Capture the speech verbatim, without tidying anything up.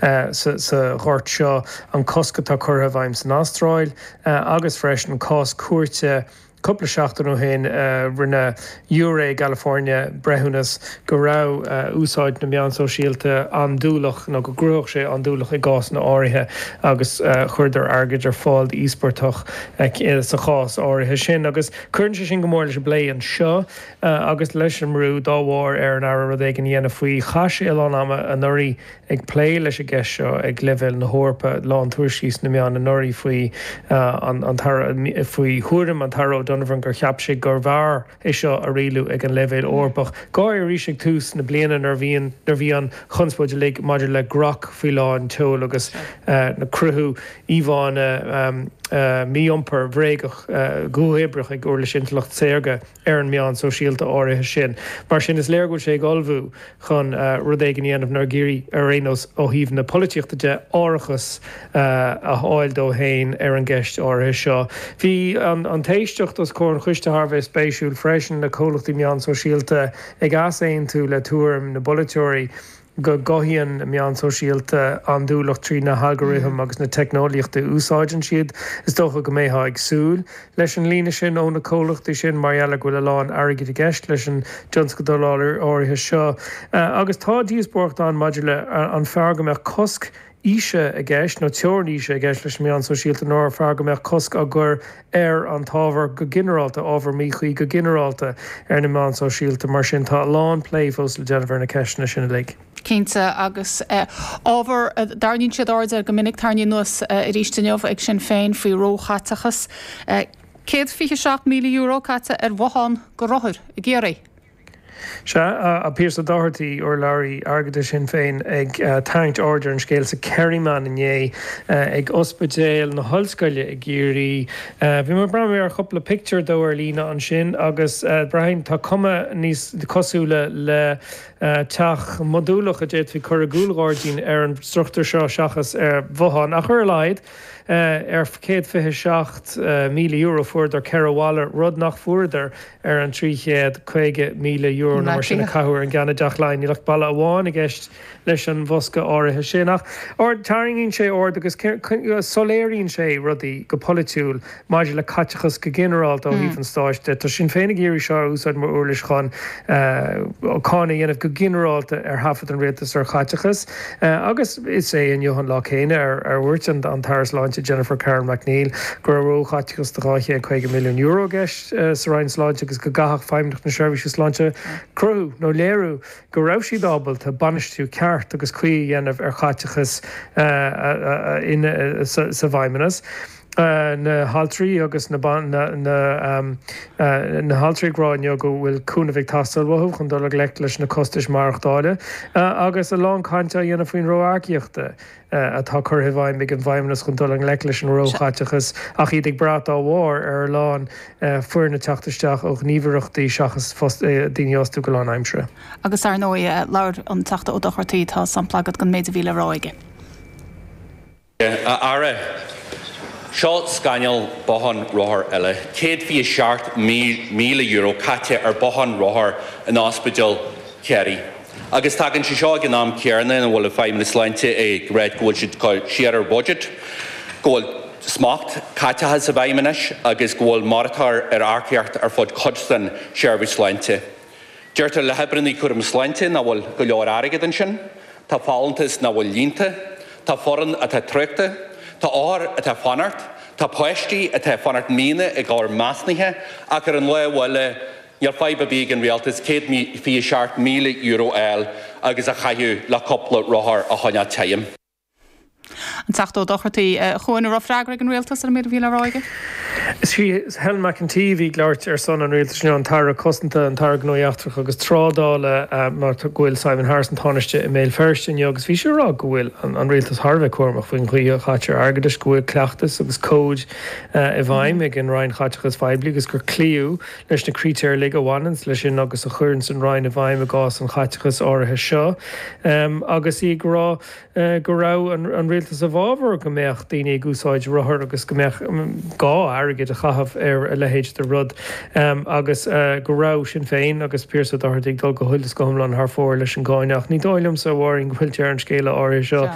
sa sa ghort seo, an cosc atá curtha i bhfeidhm san Astráil agus freisin cás cúirte cúpla seachtain ó shin. Rinne giúiré i gCalifornia breithiúnas go raibh úsáid na meán sóisialta andúileach nó go gcruthódh sé andúileach i gcásanna áirithe, agus chuireadar airgead ar fáil d'íospartach sa chás áirithe sin. Agus cuireann sé sin go mór leis an bplé anseo agus leis an mbrú dá bharr ar an Aire rud éigin a dhéanamh faoi. Chaith sé a lán ama anuraidh ag plé leis an gceist seo ag leibhéal na hEorpa, lán tuairiscí sna meáin anuraidh faoi an faoi thuairim an tAire O'Donovan gur cheap sé gurbh fhearr é seo a rialú ag an leibhéal Eorpach. Go háirithe arís ag tús na bliana nuair bhíonn nuair bhí an chonspóid uilig maidir le Grok faoi lán tseoil agus na cruthú íomhánna mí-iompair bhréagach go huathoibríoch ag uirlis intleacht saorga ar an meán sóisialta áirithe sin. Mar sin, is léir go bhfuil sé ag ullmhú chun rud éigin a dhéanamh nó ag iarraidh, ar aon nós ó thaobh na polaitíochta de, árachas a fháil dó féin ar an gceist áirithe seo. Bhí an t-éisteacht os comhair an choiste thar a bheith spéisiúil freisin, na comhlachtaí meán sóisialta ag easaontú le tuairim na bpolaiteoirí go gcothaíonn meán sóisialta andúileacht trí na halgarithim agus na teicneolaíochtaí a úsáideann siad. Is dócha go mbeifeá ag súil leis an líne sin ó na comhlachtaí sin mar gheall ar go bhfuil a lán airgid i gceist leis an dtionscadal áirithe seo. Agus tá díospóireacht ann maidir le an fearr go mbeadh cosc aoise i gceist nó teorainn aoise i gceist leis na meáin sóisialta nó ar fearr go mbeadh cosc á gcur ar an t-ábhar go ginearálta, ábhar míchuí go ginearálta ar na meáin sóisialta. Mar sin, tá a lán plé fós le déanamh ar na ceisteanna sin uilig. Cinnte, agus ábhar a dtarraingíonn siad aird air go minic, tarraingíodh anuas arís inniu ag Sinn Féin faoi róchaiteachas. céad fiche seacht míle euro caite ar bhothán do rothair i gCiarraí. Sea, Pearse Doherty, urlabhraí airgeadais Shinn Féin, ag tarraingt aird ar an scéal sa Kerryman inné, ag Ospidéal na hOllscoile i gCiarraí. Bhí mé ag breathnú ar chúpla pictiúr dó ar líne ansin agus braithim tá cuma níos cosúla le teach modúlach a d'fhéadfaí cur i gcúlghairdín ar an struchtúr seo seachas ar bhothán, ach ar a laghad ar céad fiche seacht míle euro fuaireadar ceithre bhalla, rud nach bhfuaireadar ar an trí chéad caoga míle euro nó mar sin a caitheadh ar an gceann i dTeach Laighean. Níl ach balla amháin i gceist leis an bhosca áirithe sin. Ach tarraingíonn sé aird agus soiléiríonn sé rudaí go polaitiúil maidir le caiteachas go ginearálta ó thaobh an stáit de. Tá Sinn Féin ag iarraidh seo a úsáid mar uirlis chun cáineadh a dhéanamh go ginearálta ar thaifead an rialtais ar chaiteachas. Agus is é inniu an lá céanna ar dhúirt an tAire Sláinte Jennifer Carroll MacNeill go raibh róchaiteachas de dhá chéad caoga milliún euro i gceist sa Roinn Sláinte agus go gcaithfeadh Feidhmeannacht na Seirbhíse Sláinte cruthú nó léiriú go raibh siad ábalta bainistiú ceart agus cuí a dhéanamh ar chaiteachas sa bhFeidhmeannas. Na haltraí agus na na haltraí ag rá inniu go bhfuil cúnamh ag teastáil uathu chun dul i ngleic leis na costais maireachtála agus a lán cainte á dhéanamh faoin ró-earcaíochta atá curtha i bhfeidhm ag an bhFeidhmeannas chun dul i ngleic leis an róchaiteachas ach iad ag brath dá bharr ar a lán foirne teacht isteach ó ghníomhaireachtaí seachas daoine a fhostú go lánaimseartha. Agus ar ndóigh, labhair an Teachta Ó Dochartaigh, tá sampla agat den méid a bhí le rá aige. A Aire, seo scannal bothán rothar eile. céad fiche seacht míle euro caite ar bothán rothar in Ospidéal Chiarraí. Agus tagann sé seo ag an am céanna ina bhfuil an Feidhmeannas Sláinte ag rá go bhfuil siad cur siar ar budget, go bhfuil smacht caiteachais i bhfeidhm anois agus go bhfuil moratóir ar earcaíocht ar fud cuid den tseirbhís sláinte. Deirtear le hoibrithe cúraim sláinte nach bhfuil go leor airgead ansin, tá folúntais nach bhfuil líonta, tá foireann atá traochta, tá othair atá ag fanacht, tá páistí atá ag fanacht míonna i gcomhair measúnaithe ach ar an lámh eile níl fadhb ar bith ag an rialtas céad fiche seacht míle euro a fháil agus a chaitheamh le cúpla rothar a choinneáil tirim. An Teachta Ó Dochartaigh, a Chuain, an raibh freagra ag an Rialtas ar an méid a bhí le rá aige? Is í Helen McEntee a bhí ag labhairt ar son an Rialtais inniu, an tAire Cosanta, an tAire Gnóthaí Eachtracha agus Trádála, mar go bhfuil Simon Harris, an Tánaiste, i mBéal Feirste inniu agus bhí sí ag rá go bhfuil an Rialtas thar a bheith cúramach faoin gcaoi a chaitear airgeadais, go bhfuil cleachtas agus cóid i bhfeidhm ag an Roinn Chaiteachais Phoiblí agus gur cloíodh leis na critéir uilig a bhaineanns leis sin agus a chuireanns an Roinn i bhfeidhm i gcás an chaiteachais áirithe seo agus í ag rá go raibh an Rialtas i bhfabhar go mbeadh daoine ag úsáid rothar agus go mbeadh gá airgead a chaitheamh ar a leithéid de rud agus go raibh Sinn Féin agus Pearse Ó Dochartaigh ag dul go huile is go hiomlán thar fóir leis an gcáineadh. Ach ní dóigh liomsa, a Mháirín, go bhfuil deireadh an scéala áirithe seo.